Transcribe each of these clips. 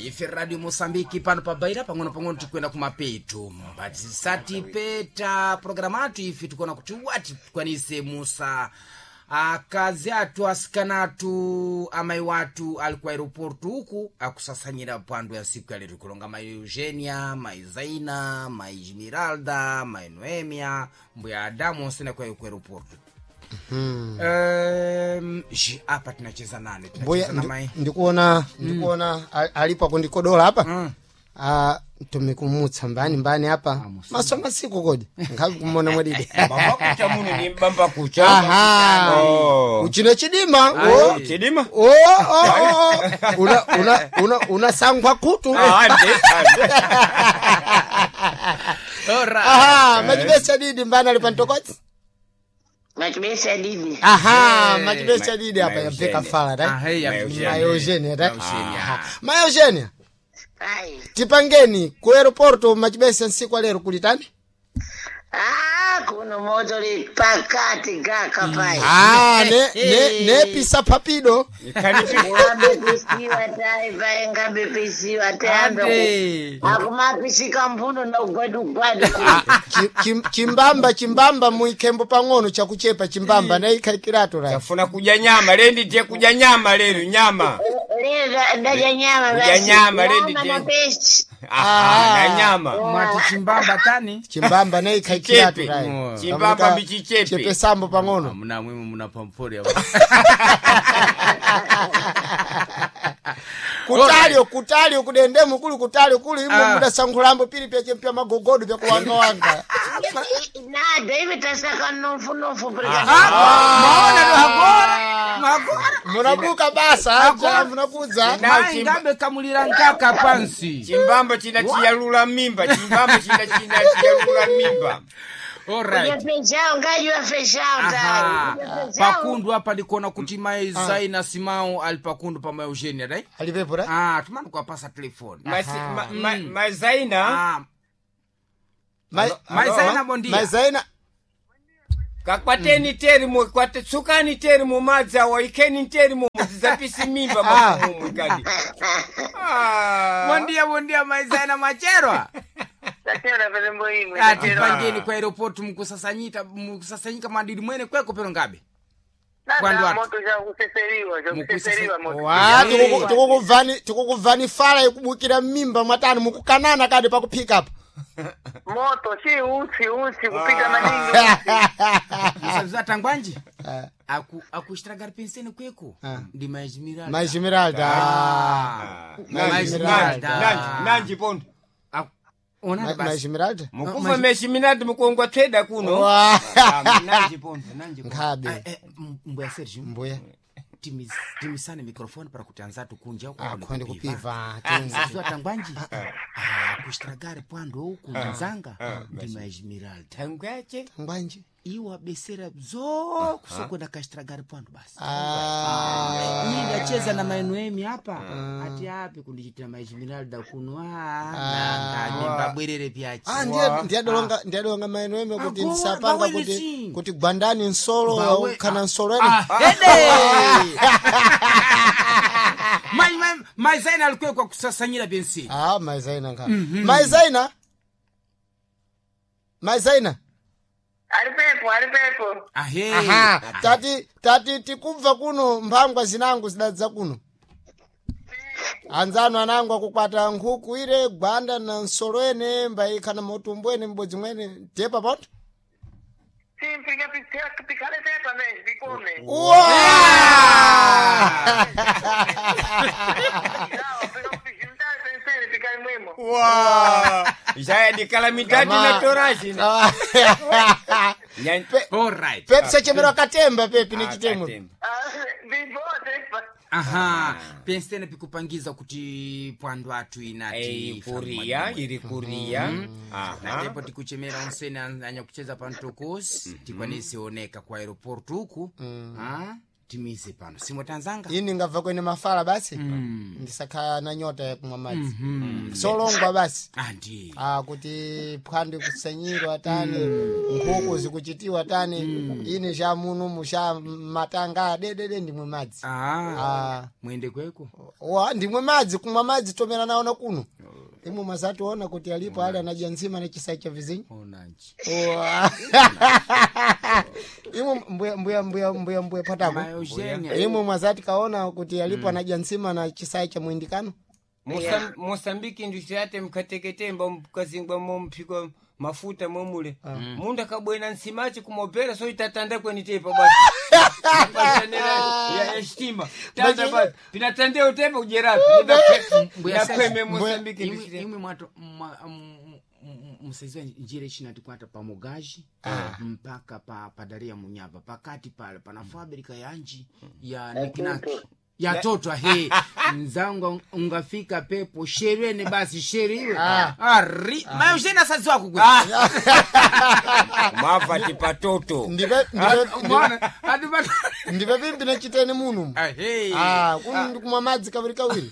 Ife Radio Mosambiki pano pabaira pang'ono pang'ono tikwenda kumapeto, mbati programu atu ife tikuona kuti wati tikwanise musa akazi atu asikana atu amayi watu ali ku aeroporto uku akusasanyira pando ya siku ya lero kulonga mai Eugenia, mai Zaina, mai Esmeralda, mai Noemia, mbuya Adamu onse ku aeroporto. Apa tinacheza nane Mbuya tinacheza na mai ndikuona alipo akundikodola apa. Ah, tumikumutsa mbani mbani apa maso masiku kodi nkhavi kumona mwadidi. Mbamba kucha muno ni mbamba kucha. Aha. Oh. Uchino chidima. Oh. Chidima? Oh, oh, oh. Una una una unasangwa kutu. Ah, ande, ande. Alright. Aha, machibesa didi mbani ali pantokotsi. Machibesa didi. Aha, machibesa didi apa Ma yabveka Eugenia. fala right? Ah, hey, Ma Eugenia. Ma Eugenia right? Eugenia. Aha. Ma Eugenia, Ai. tipangeni ku aeroporto machibesa nsiku alero kulitani? Ah, kuno moto li pakati gaka pai. Ah, ne ne ne pisa papido. Ngabepisiwa tai pai, ngabepisiwa tai. Ande. Akumapisika mbuno na ugwadu gwadu. Chimbamba chimbamba muikembo pang'ono chakuchepa chimbamba na ikhaikirato right. Tafuna kudya nyama lendi tie kudya nyama lero nyama. Lero ndaja nyama Kudya basi. nyama, lady Nyama na Jane. pesi. Aha, na nyama. Mwati chimbamba tani Chimbamba na ikhaikirato Chichepe. right. Chimbamba mbichichepe. Chepesambo pang'ono. muna mwimwe muna pampori Kutalio kutalio kudendemo kuli kutalio kuli imo Ah. mudasankhulambo pili pyachempya magogodo pyakuwangawanga. Nada, ive tasaka nofu nofu. Maona ndo agora magora. Munabuka basa aja munakudza. Na Mai ngabe kamulira nkaka pansi. Chimbamba china chiyalula mimba, chimbamba china china chiyalula mimba. Alright. Feijão, ngajua feijão Aha. tai. Pakundu apa ndikuona kuti mai Zaina Simao ali pakundu pa mai Eugenia dai. Alipepo right? Ah, tumani kuwapasa telefoni. Mazaina Ah, Mai mai Zaina bondia. Mai Zaina kakwateni teri mu kwate tsukani teri mu madzi awa ikeni teri mu mudzapisi mimba mafumu kadi. Ah. Bondia bondia mai Zaina macherwa. Tachera pelembo imwe. Atipangeni kwa aeroport mkusasanyita mkusasanyika madidi mwene kweko pero ngabe. Kwandu atu. Moto cha kuseseriwa, cha kuseseriwa moto. wa tikukubvani tikukubvani fala ikubukira mimba mwatani mukukanana kadi pakuphika apa. Moto si utsi utsi kupita maningi utsi. Musabiza tangwanji. Aku akushitagari penseni kweko. Ndi mai Esmeralda. Mai Esmeralda. Ah. Mai Mai Esmeralda. Esmeralda. Nanji pondo. Ona Mai basi. Esmeralda. Mukufa meshiminati mukongwa tweda kuno. Wa. Ah, Nanji pondo, nanji pondo. Nkhabe. Mbuya Sergio. Mbuya. Timisane microphone para kuti anzatu kunja uko Akhonde kupiva. Zuwa tangwanji. Ah, kushitagari pwando uku nzanga ndi mai Esmeralda. Tangwache. Ngwanji. Iwo abesera zo kusokwenda kashitagari pwando basi. Ah. Mimi ndacheza na maenoemi hapa ati api kundichitira maesmeralda kuno mbabwerere pyachi. Ah, ndiye ndiyadolonga ndiyadolonga maeno eme kuti Agora, ndisapanga bawele kuti sim. kuti gwandani nsolo Bawe- kana nsolo ene. Ah, hede! Mai- mai- mai Zaina alikuwa kusasanyira bensi. Ah, Mai Zaina nkha. Mai Zaina. Mai Zaina. Alipepo, alipepo. Ahe. Aha, tati tati tikubva kuno mphangwa zinangu zidadza kuno. Anzano anangu akukwata nkhuku ire gwanda na nsolo ene mbaikana motumbo ene m'bodzi mwene tepa poto. Sim, fica pikale tepa mesmo, pikome. Uwa! Não, fica juntar pensando, fica mesmo. Wa. Jaya dikala mitati na torashi. Nyan- Alright. Pepi sachemera katemba pepi ni Ah, chitemo. katemba. Ah, vivo tepa. Aha. Pensene pikupangiza kuti pwando atu inati Ei, kuria, iri kuria. Aha. natepo tikuchemera onsene anyakucheza pantokosi tikwanise oneka kwa aeroport uku. Ah? Timize pano simotanzanga Ini ngabva kwene mafala basi ndisakhala na nyota yakumwa madzi solongwa basi. Andi. Ah, kuti phwando ikusenyirwa tani, nkhuku zikuchitiwa tani, ine sha muno sha matanga dedede ndimwe madzi. Ah. Ah. Mwende kweko. Wa ndimwe madzi, kumwa madzi tomera naona kuno imwe mwazationa kuti alipo ali anadya ntsima na chisai cha vizinyi. Onanji. Wa. Imwe mbuya mbuya mbuya mbuya mbuya patako. Mai Eugenia. Imwe mwazati kaona kuti alipo anadya ntsima na chisai cha mwindikano. Mosambiki ndusiyate mkateketemba mkazingwa momphikwa mafuta momule mundu akabwena nsimachi kumopera so itatanda kwenitepa basi Pajanela ya ya shitima tanda basi pinatandeo tepa kujerapi Mbuya nakweme Sesi, Mosambiki imwe ndusiyate imwe mwato msaiziwa njira ichina tikwata pa mugaji mpaka pa padaria munyava pakati pale pana fabrika yanji ya nikinaki ya toto he mzangu ungafika pepo sherene basi sheriwe ari mayushena asaziwa kugwe mava tipatoto Ndipe ndipe mwana atipata ndipe pimbi nachitene muno. ahe. Ah, kuno ndikumwa madzi kawiri kawiri.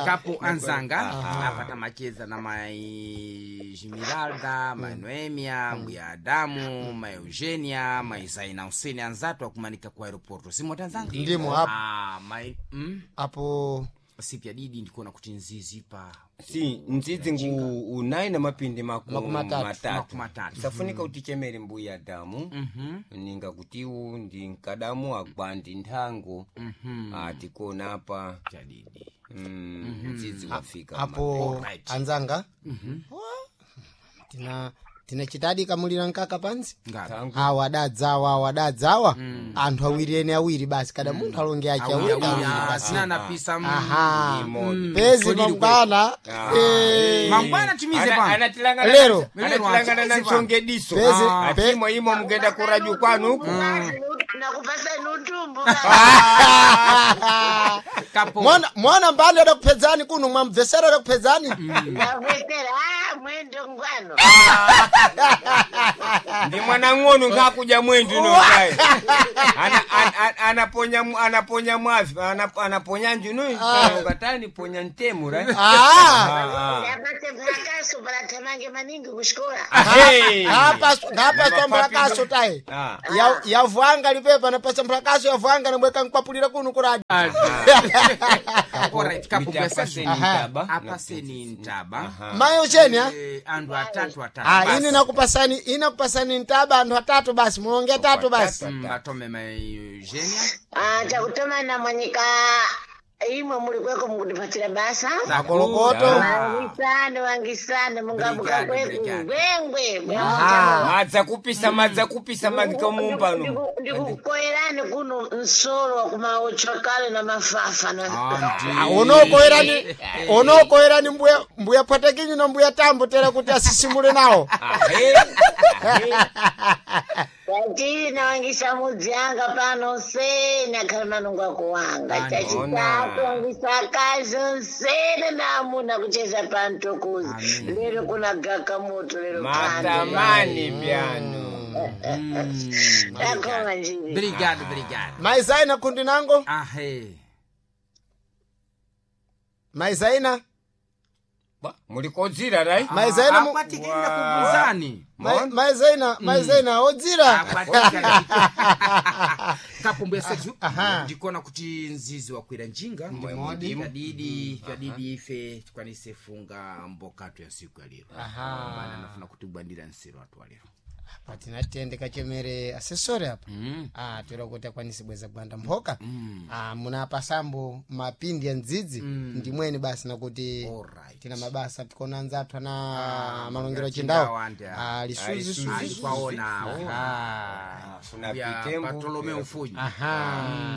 Kapo anzanga apata macheza na mai Jimiralda, mai Noemia, mbuya Adamu, mai Eugenia, mai Zaina Huseni anzatu akumanika ku aeroporto simota anzanga Ndimo apo. Ah, mai Apo sipya didi ndikuona kuti nzizi pa si ndzidzi ngu unayi na mapindi Makumi matatu. Makumi matatu. Safunika utichemere mbuya damu ninga kutiwu ndi nkadamu agwandi nthango tikona apa chadidi. Mdzidzi wafika. Apo Alright. anzanga. Wa, tina tinachitadi kamulira nkaka pansi. Ngapi? Awa adadzawa, awa adadzawa, anthu awiri ene awiri basi kada munthu alonge achi awiri awiri basi. Sina napisa Aha. Imodzi. Pezi Toliri mangwana. Mangwana timize pano. Lero. Anatilangana na ntsongediso Pezi- pe- atimo imo mugenda kuraju kwanu uku. Nakupasa nutumbu. Kapo. Mwana mwana mbali adakupedzani kuno mwamubvesera adakupedzani. Ndavesera ah mwendo ngwano. Ndi mwana ng'ono nkhakuja mwendu nokayi anaponya anaponya mwavi anaponya njuno ngatani ponya ntemu right. Ah. Ndapate mphakaso palathamange maningi kuxikola. Ngapaswa mphakaso tayi. Ah. Yavwanga lipepa napasa mphakaso yavwanga nabweka nkwapulira kuno kuradi. Alright, kapo bwesa. Aha. Apaseni ntaba. Mayo cheni ha? Andu atatu atatu. Ah, Basi. ini nakupasani inakupasani ntaba anthu atatu basi mulonge atatu basi. Atome mai Eugenia. Ah, chakutoma na mwanyika imwe muli kweko mukutipatira basa. Makolokoto. Wangisane wangisane mungabuka Brigade, kweku brigade. gwengwe. Madza kupisa madza kupisa madikamumbano. Ndikukoyerani kuno msolo wa kumaochwa kale na mafafa na Andi. Unokoerani unokoerani mbuya mbuya pwatekinyu na mbuya tambo tera kuti asisimule nawo. Chachiri nawangisa mudzi anga pano sena khala manungo akuwanga. Chachitatu wangisa akazi onsene na amuna kucheza pantokuzi. Lero kuna gaka moto lero pano. Matamani pyano. Takoma njiri. Brigade, brigade. Maizaina kundi nango? Ahe. Maizaina? Mulikodzira right. Maizaina Akwatikenda kubuzani. Maizaina maizaina odzira. Kapumbwe seju ndikuona kuti nzizi wakwira njinga vyadidi vyadidi ife tikwanise funga mbokatu ya siku ya lero maana nafuna kutibwandira nsero atu walero. Patinatende kachemere asesore apa. Ah, toera kuti akwanise bweza gwanda mphoka. Ah, munapasambo mapindi ya ndzidzi ndimweni basi nakuti Alright. tina mabasa tikona anzathu ana malongero ya chindawo. Chindawo andi, ah. Ah, lisuzi suzi. Alikwaonawo Ah. Funa ya pitembo. Bartolomeo Mfunyi. Aha.